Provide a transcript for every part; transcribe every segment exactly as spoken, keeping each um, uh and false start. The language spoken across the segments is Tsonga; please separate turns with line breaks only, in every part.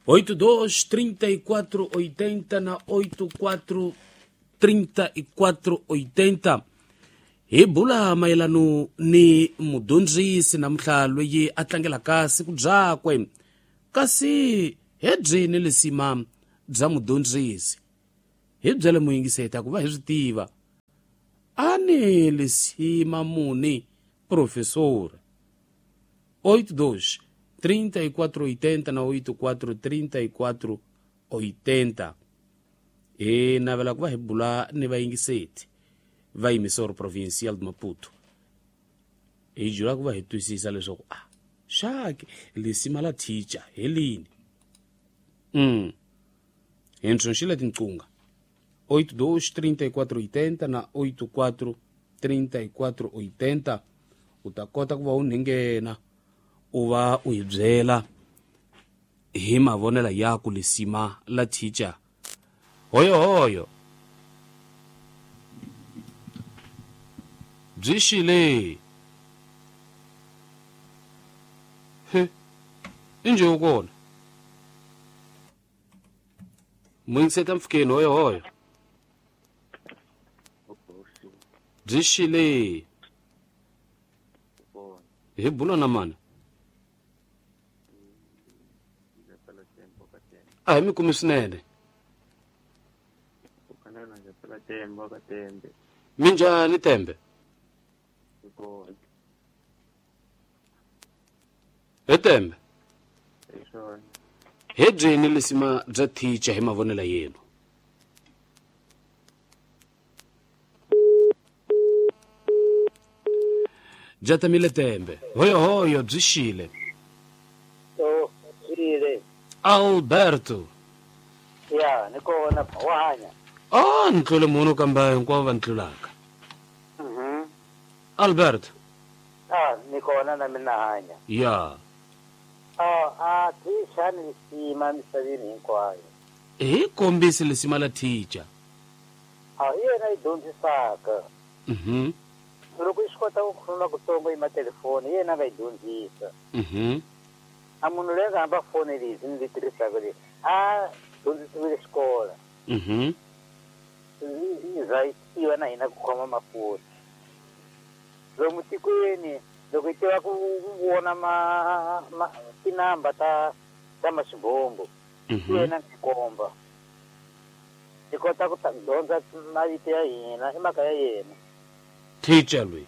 Oito, dois, trinta e quatro, oitenta na oito, quatro, trinta e quatro, oitenta. Hi bula mayelano ni mudyondzisi namuntlha loyi a tlangelaka siku byakwe kasi hi byini lisima bya mudyondzisi hi byele muyingiseta ku va hi swi tiva a ni lisima muni professor oito dois trinta e quatro oitenta na oito quatro trinta e quatro oitenta hi navela ku va hi bula ni vayingiseti va emissora provincial de Maputo hi jula ku va hi twisisa leswaku ah xaki lisima la teacher hi lini mm hi ntshunxile tinqunga oito dois trinta e quatro oitenta na oito quatro trinta e quatro oitenta u ta kota ku va u nghena u va u hi byela hi mavonelo ya ku lisima la teacher hoyo hoyo byi xile he inje u kona muyingiseta mpfukeni hoyo hoyo byi xile hi bula na mani a hi mi kumi swinene minjhani tembe hi tembe hi byini lisima bya teacher hi mavonelo yenu bya tamile tembe hoyo hoyo byi xile Alberto
ya ni kona wa hanya
oh ni tlule munhu kambe hinkwavo va ni tlulaka
mhm
Alberto
ah ni kona na mina hanya
ya
ah a teacher ni lisima misaveni hinkwayo
hi kombisi lisima la teacher
ah hi yena yi dyondzisaka
mhm
loko yi swi kota ku khuluma kutsongo hi matelefoni hi yena a nga yi dyondzisa
mhm
a munhu loyi a nga hamba foni lezi ni tirhisaka leyi a dyondzisiwile xikolo
mhm
yi za yi tiva na hina ku khoma mafoni lomu tikweni loko yi tiva ku vona ma ma tinamba ta ta maswibombo
mhm
yena ndzi komba hi kota ku dyondza mavito ya hina i mhaka ya yena
teacher loyi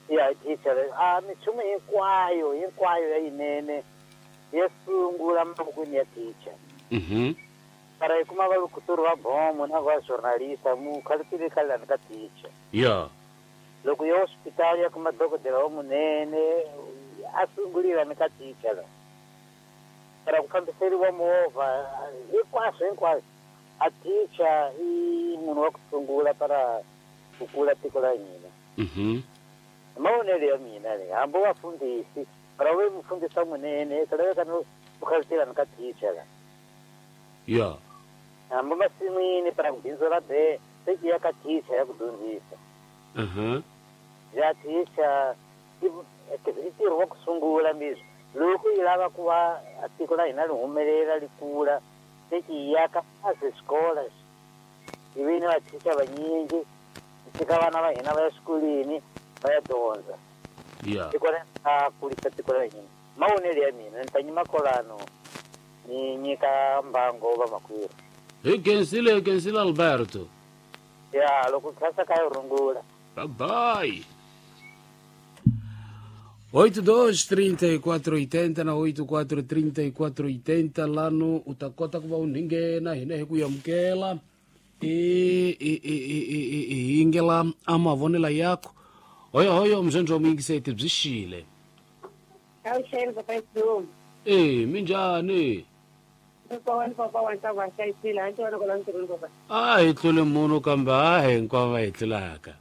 ya teacher a minchumu hinkwayo hinkwayo ya yinene ya sungula mavokweni ya teacher
mhm
para hi kuma valukuturi va bomo na va journalista mu khaletile khalani ka teacher
ya
loko ya hospitali ya kuma dokodela wa munene a sungulila ni ka teacher la para ku fambiseriwa movha hinkwaswo hinkwaswo a teacher i munhu wa ku sungula para ku kula tiko la hina
mhm
mavonelo ya mina le hambi vafundhisi para ve mufundhisi wa munene ku laveka no ku khaletela ni ka teacher la
ya
hambi masin'wini para ku bindzu ra be se ki ya ka teacher ya ku dyondzisa
mhm
ya teacher i i ntirho wa ku sungula mbizwi loko yi lava ku va tiko la hina li humelela li kula se ki ya ka kahle xikolo hi vi ni vateacher vanyingi tshika vana va hina va ya xikolweni va ya dyondza
ya
tiko ra a kulisa tiko ra hina mavonelo ya mina ni ta nyima kolano ni nyika mbango va makwerhu
hi khensile hi khensile Alberto
ya loko khensa ka yi rungula
bye bye oito dois trinta e quatro oitenta na oito quatro trinta e quatro oitenta lano u ta kota ku va u nghena hina hi ku amukela i i i i i yingela a mavonelo yakho hoyo hoyo mzenzwa wa muyingiseti byi xile
Awuxeni papa Silumu.
e minjhani
Papa papa wa nta va hlayisile a ndzi vona ntirhweni papa.
a hi tlule munhu kambe a hi hinkwavo va hi tlulaka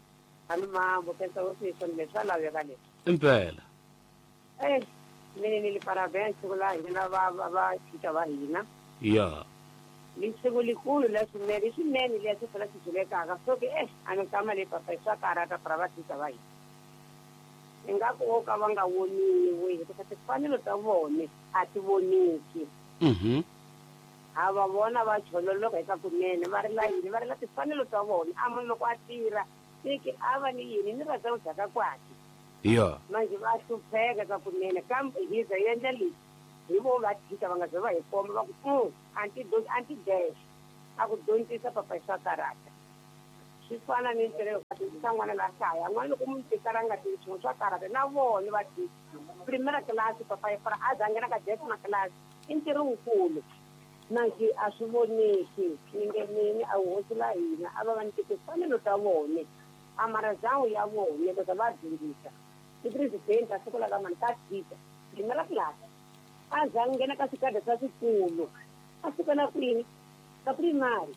Ani mambo khensa wo swi swona leswi swa laveka leswi.
impela
Eh mina ni li parabéns siku la hina va va va teacher va hina.
ya
Lisiku likulu la swinene swinene leswi fela swi byelekaka so ke eh a ni kama le papa swa karata para va tisa va hina ingaku wo ka va nga voniwi hikuva timfanelo ta vona a ti voniki.
Mhm.
A va vona va chololoka eka kunene va ri la yini va ri la timfanelo ta vona a munhu loko a tirha tiki a va ni yini ni rhandza ku dyaka kwati.
Yeah.
Manje va hlupheka ka kunene kambe hi za endla leswi hi vo va tshika va nga ze va hi komba va ku anti anti dash a ku dyondzisa papa swa karata swi fana ni ntirho ka dyondzisa n'wana la hlaya n'wana loko mu tikara nga tivi nchumu swa karata na vona va tshika primera class papa yi fara a za nghena ka décima class i ntirho wukulu manje a swi voneki ni nge mini a hosi la hina a va va nyike timfanelo ta vona a mara ya vona loko va dyondzisa i president a siku la ka mani ka tshika primera class a za nghena ka swikada swa swikulu a suka na kwini ka primary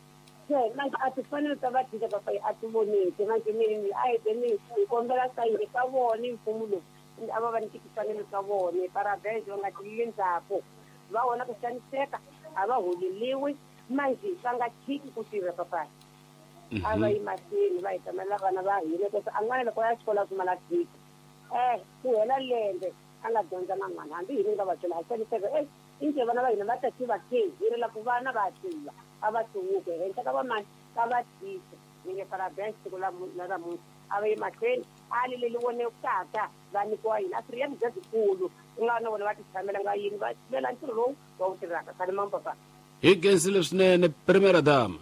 se manje a timfanelo ta va tshika papa a ti voneki manje mini a hi ni hi kombela ka yini ka vona mfumo lowu a va va nyike timfanelo ta vona parabens va nga tilili ndzhaku va vona ku xaniseka a va holeliwi manje va nga tshiki ku tirha papa a va yi mahlweni va hi tamela vana va hina kasi a n'wana loko ya xikolo a pfumala tshika eh ku hela lembe a nga dyondza na n'wana hambi hina nga va byela ha xaniseka eh inje vana va hina va ta tiva ke hi ri la ku vana va tiva a va hluvuke henhla ka vamani ka va tshika ni nge parabens siku la namuntlha a va yi mahlweni a li leli vonekaka va nyikiwa yini a swi ri ya byikulu ku nga na vona va ti tshamela nga yini va tivela ntirho lowu va wu tirhaka khale mamu papa
hi khensile swinene primera dama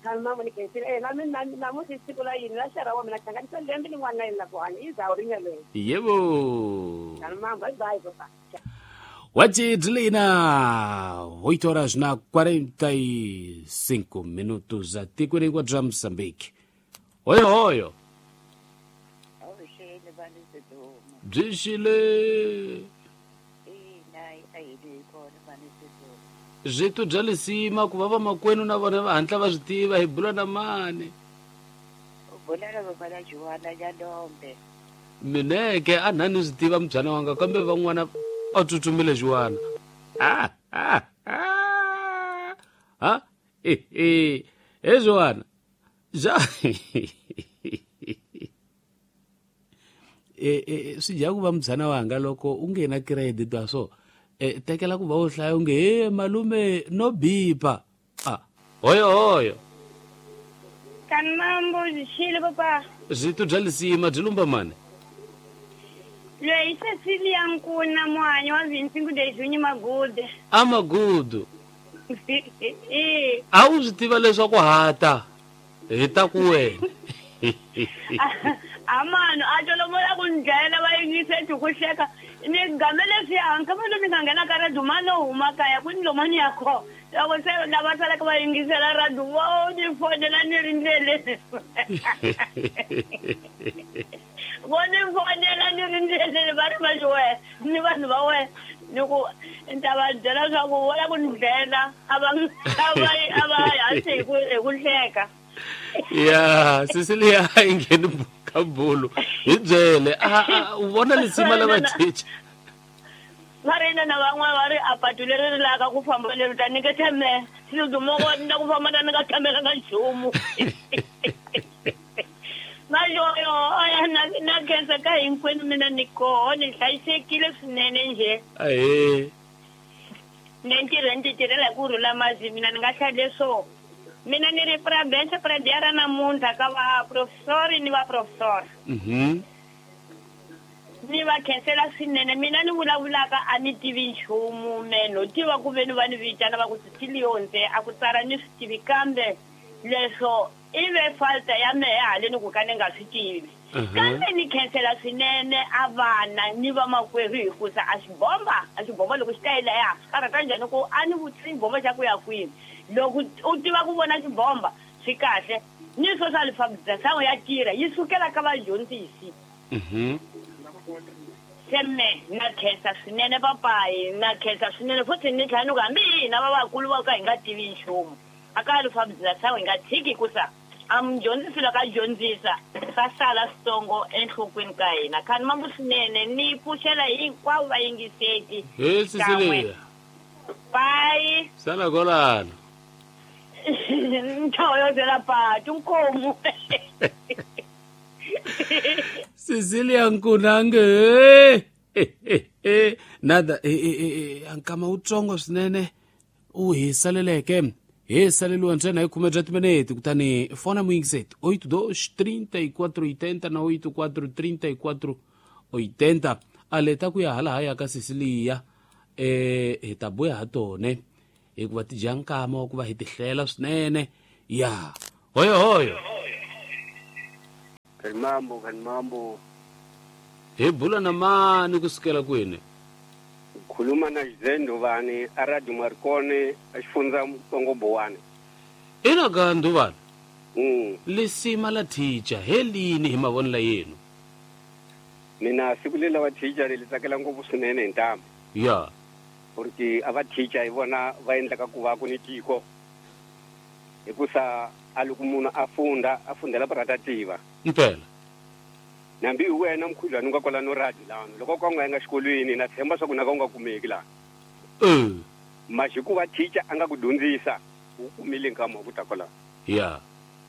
khale mamu ni khensile eh na mina namuntlha i siku la yini la xera wa mina hlanganisa lembe lin'wana na yini la ku hanya i zawu rinye leyo
yebo
khale mamu bye bye papa.
Wajidlina oito horas na quarenta e cinco minutos a tikweni bya Mozambique. Oyo oyo byi xile byi bya lisima ku va vamakwenu na vona va hatla va swi tiva hi bula na mani mineke a nani swi tiva mbyana wanga kambe van'wana a tsutsumile Joana. Ah ah ah ah eh eh eh Joana ja eh eh swi dya ku va mbyana wanga loko u nghena credit wa so eh tekela ku va u hlaya u nge he malume no bipa ah hoyo hoyo
kanambo xile papa
byi bya lisima byi lumba mani
loyi Cecilia Nkuna muhanyi wa vhintsingu dejunyi magude
a magudu
eh
a wu swi tiva leswaku hata hi ta ku wena
a mano a tolomola ku ndlela va yingise ku hleka ni game leswiya nkama lomu ni nga nghena ka radio mano huma kaya ku ni lomani ya kho loko se lava salaka va yingisela radio vo ni fonela ni ri ndleleni vo ni fonela ni ri ndleleni va ri va wena ni vanhu va wena ni ku ni ta va byela swa ku vo la ku ni dlela a va a va a va hansi hi ku hi ku hleka.
Ya Cecilia yi ngheni ka bulu hi byele a u vona lisima la vachicha
va ri na van'wana va ri a patu leri ri laka ku famba leri ta nyiketa mehe siludumoko ni ta ku famba ta ni nga tshamela ka nchumu mayoyo aya na na khensa ka hinkwenu mina ni koho ni hlayisekile swinene njhe
ahee
ni ntirho ni ti tirhela hi ku rhula masi mina ni nga hlaya leswo mina ni ri prabense pradiara namuntlha ka va professori ni va professor.
Mhm.
Ni va khensela swinene mina ni vulavulaka a ni tivi nchumu meno tiva ku ve ni va ni vitana va ku Cecilionse a ku tsala ni swi tivi kambe leswo i ve falta ya mehe haleni ku ka ni nga swi tivi kambe ni khensela swinene a vana ni vamakwerhu hikusa a xibomba a xibomba loko xi ta yi laya swi karhata njhani ku a ni vutisi xibomba xa ku ya kwini loko u tiva ku vona xibomba swi kahle ni swo swa alfabetization ya tirha yi sukela ka vadyondzisi.
Mhm.
Se me na khensa swinene papayi na khensa swinene futhi ni tlhela ni ku hambi hina va vakulu va ka hi nga tivi nchumu a ka alfabetization hi nga tshiki hikusa a mudyondzisi loko a dyondzisa swa sala switsongo enhlokweni ka hina khani mambu swinene ni pfuxela hinkwavo vayingiseti
he Cecilia
bye
sala kolano.
Ntoyozela patu nkomu.
Cecilia Nkunange. Nada ankama utsongo swinene u hi saleleke hi saleliwa ntsena hi khume bya timinete kutani fona muyingiseti oito dois trinta e quatro oitenta na oito quatro trinta e quatro oitenta a leta ku ya hala haya ka Cecilia eh hi ta buya ha tone hikuva ti dya nkama wa ku va hi ti hlela swinene ya hoyo hoyo
Kanimambo kanimambo
hi bula na mani kusukela kwini
khuluma na Xizendo vani a Radio Marconi a xifundza Mutsongo Bowani
ina ka Nduvani
mm
lisima la teacher helini hi mavonelo yenu
mina siku leri va teacher ri tsakela ngopfu swinene hi ntamu
ya
porque a va teacher hi vona va endlaka ku va ku ni tiko hikusa a loko munhu a funda a fundela ku rata tiva
impela
nambi hi wena mkhudlwana u nga kwala no radio lano loko ka u nga yanga xikolweni na tshemba swa ku na ka u nga kumeki laha
mm
maxi ku va teacher a nga ku dyondzisa u kumile nkama wa ku ta kwala
ya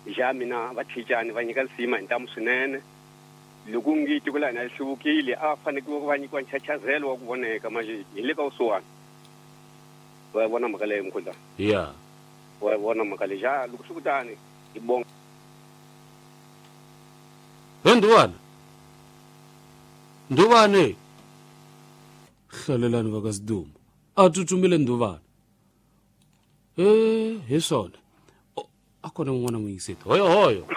ja mina va teacher ni va nyika lisima hi ntamu swinene loko ngi tiko la hina ri hluvukile a va fanekele va nyikiwa nchachazelo wa ku voneka maxi hi le ka vusiwana wa vona mhaka leyi mkhudlwana
ya
wa vona mhaka leyi ja loko swi kutani hi bonga
he Nduvana Nduvane hlalelani va ka Sidumo a tsutsumile Nduvana e hi swona a kona un'wana muyingiseti hoyo hoyo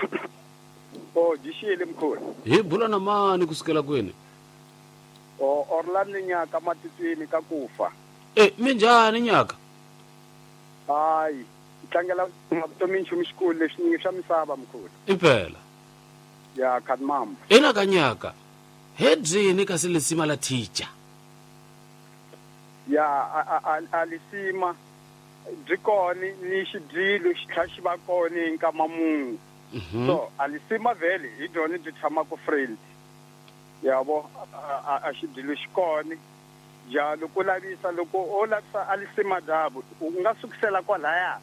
o dixile mkhulu
hi bula na mani kusukela kwini
o Orlando Nyaka matitsini ka kufa
e minjhani Nyaka
hayi tlangela vutomi nchumu xikulu lexi nyingi xa misava mkhulu
impela
ya Kadmam
ina ka Nyaka he byini kasi lisima la teacher
ya a a lisima byi kona ni xidyilo xi tlhela xi va kona hi nkama munhu so a lisima vhele hi byona byi tshamaka friend yabo a xidyilo xi kona ja loko u lavisa loko o lavisa a lisima dyabo u nga sukisela kwalaya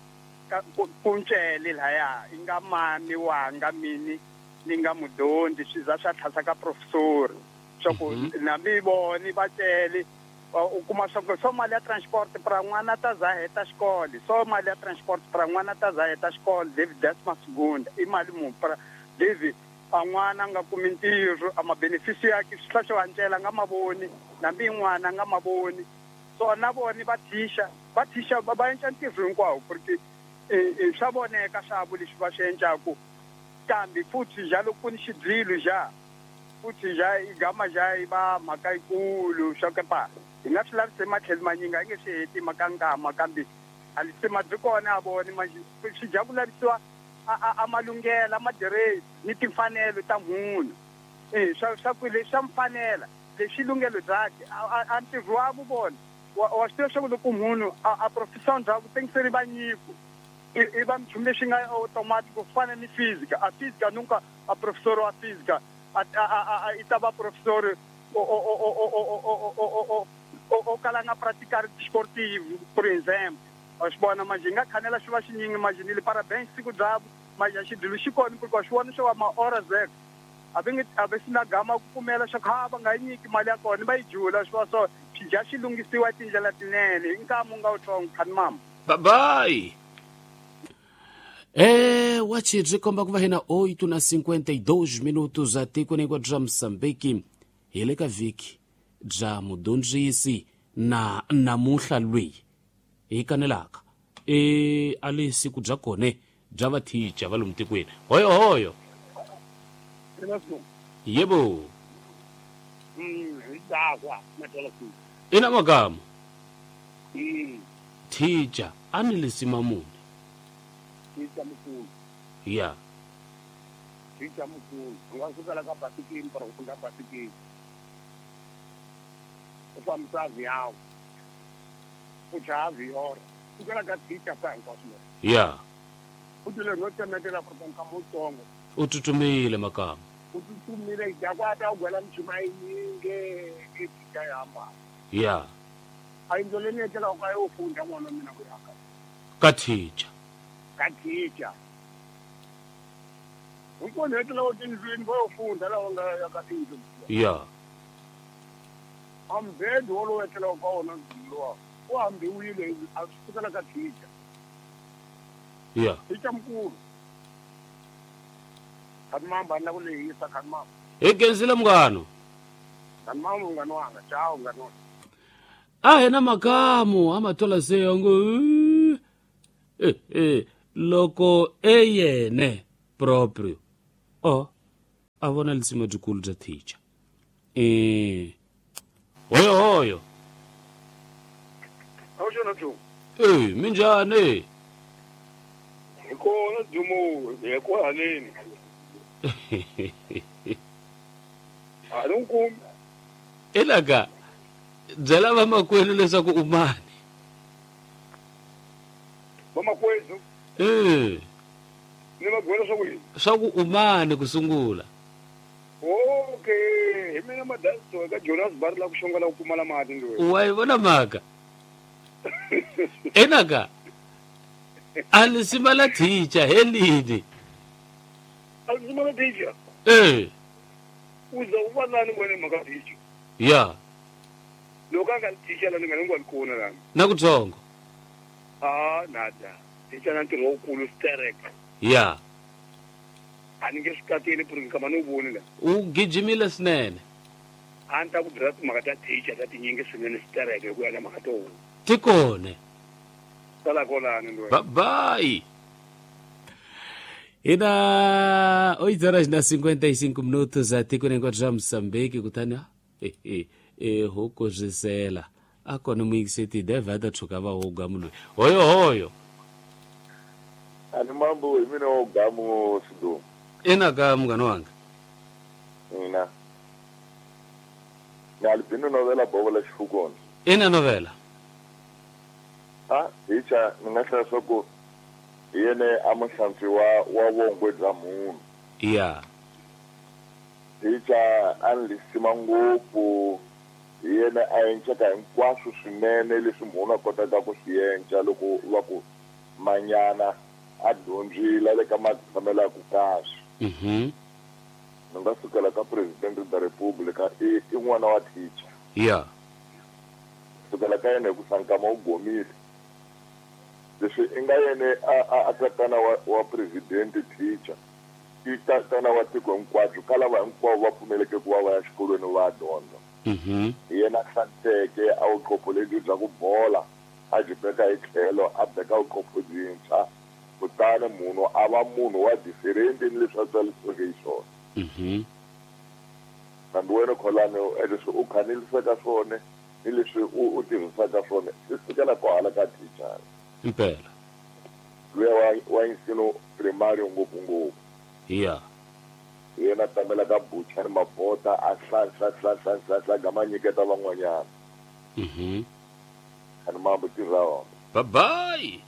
ku ncele laya i nga mani wanga mini ni nga mudyondzi swi za swa tlhasa ka professor swa ku na mi voni va cele u kuma swa ku so mali ya transport pra n'wana ta za heta xikolo so mali ya transport pra n'wana ta za heta xikolo David Desmas Gunda i mali mu pra David a n'wana nga kumi ntirho a ma-benefits yakhe swi tlhela swi va ncela nga mavoni nambi n'wana nga mavoni so na voni va thisha va thisha va endla ntirho hinkwawo porque swa voneka swavo leswi va swi endlaku kambe futhi ja loko ku ni xidyilo ja futhi ja i gama ja i va mhaka yikulu swa kepa hi nga swi lavisi matlhelo manyingi a yi nge swi heti mhaka nkama kambe a lisima byi kona a voni swi dya ku lavisiwa a malunghelo a madiresi ni timfanelo ta munhu e swa swa ku leswi swa mfanela leswi lunghelo byakhe a ntirho wa vona wa swi tiva swa ku loko munhu a professor ndhaku tengiseri va nyiko i va nchumu lexi nga automatic ku fana ni física a física nunca a professor wa física a a i ta va professor o o o o o o o o o kala nga praticar desportivo por exemplo wa swi vona manje hi nga khanela swi va xinyingi manje ni le parabéns siku byabo manje a xidyilo xi kona porque wa swi vona swo va ma-ora zek a va nge a va swi na gama ku pfumela swa ku ha va nga yi nyiki mali ya kona va yi jula swi va so swi dya swi lunghisiwa hi tindlela tinene hi nkama u nga wutsongo khani mama
bye bye Eh, wachi komba ku va hina oito na cinquenta e dois minutos a tikweni hinkwabyo bya Mozambique hi le ka vhiki bya mudyondzisi na namuhla lweyi hi kanelaka e a le siku bya kone bya vathicha va lomu tikweni hoyo hoyo yebo ina magama thicha a ni lisima muni
Teacher mukulu
ya
teacher mukulu u nga sukela ka basikini para ku funda basikini u fambisa avião u chaya aviora sukela ka teacher sa hinkwaswo leswi
ya
u tile no tsemetela ku nkama wutsongo
u tsutsumile makama
u tsutsumile dya ku ata u gwela minchumu yinyingi i teacher yi hambana
ya
a yindlu leyi ni etlelaka ka yo funda n'wana wa mina ku yaka
ka teacher
Ka teacher. Ukona hetela wo tindlwini va yo funda lawa nga ya ka tindlu.
Ya.
Ambed wolowo etlela ka wona lowa u hambiwile a swi sukela ka teacher.
Ya.
Teacher mkulu. Khanimamba na ku lehisa khanimamba.
Hi kenzile munghano.
Khanimamba munghano wanga, ciao munghano.
A hina makamu a matola se yango eh eh loko eyene proprio o a vona lisima dyikulu bya teacher. Eh hoyo hoyo.
Awuxona Joe.
Eh minjhani?
Hi kona Dumo, hi ku haleni. A ni kumi.
Elaka byela vamakwenu leswaku u mani.
Vamakwenu?
Eh.
Ni va byela swa ku yini?
Swa ku u mani ku sungula.
Okay, hi mina Madasto eka Jonas Bar la ku xongela ku pfumala mati ndzi.
Wa yi vona mhaka? Enaka a lisima la teacher helini.
A lisima la teacher?
Eh.
Uza u va nani wena mhaka teacher?
Ya.
Loko a nga teacher la ni nga ni nga kona la.
Na kutsongo.
Ah, nada. Teacher na ntirho wukulu sterek.
Ya.
A ni nge swi kateli ku ri nkama ni wu voni la.
U gijimile swinene.
A ni ta ku byela timhaka ta teacher ta tinyingi swinene sterek hi ku ya na mhaka to huma.
Tikone.
Sala kolani ndwe.
Bye bye. Ina oito horas na cinquenta e cinco minutos a tiko nenkwathu swa Moçambique kutani eh eh eh huku zwisela a kona muyingiseti deve a ta tshuka va wo gamu loyi hoyo hoyo.
Ani mambo hi mina wo gamu Sidumo.
Ina ka munghana wanga.
Ina. Ni albino novela bobola xifukoni.
Ina novela.
Ah, teacher ni nga hlaya swa ku hi yene a muhlantswi wa wa vongwe bya munhu.
Ya.
Teacher a ni lisima ngopfu hi yena a enceka hinkwaswo swinene leswi munhu a kotaka ku swi enca loko va ku manyana a dyondzile le ka matshamelo ya ku kahle.
Mhm.
Ni nga sukela ka president da Republika i i n'wana wa teacher.
Ya.
Sukela ka yena hi ku sankama u gomile. Leswi i nga yene a a tatana wa wa president teacher i tatana wa tiko hinkwabyo ka lava hinkwavo va pfumeleke ku va va ya xikolweni va dyondza.
Mhm.
Hi yena a hlantsweke a vuqopho lebyi bya ku bola a byi beka hi tlhelo a beka vuqopho byintshwa kutani munhu a va munhu wa different ni leswi a tswalisiweke hi swona.
Mhm.
Kambe wena Kholani leswi u khanilisaka swona ni leswi u u tirhisaka swona swi sukela kwahala ka teacher.
Impela.
Luya wa wa nsino primario ngopfu ngopfu.
Ya.
Yena tamela ka bucha ni mabota a hlanhla hlanhla hlanhla gama nyiketa van'wanyana.
Mhm.
Ani mambo tirha wona.
Bye bye.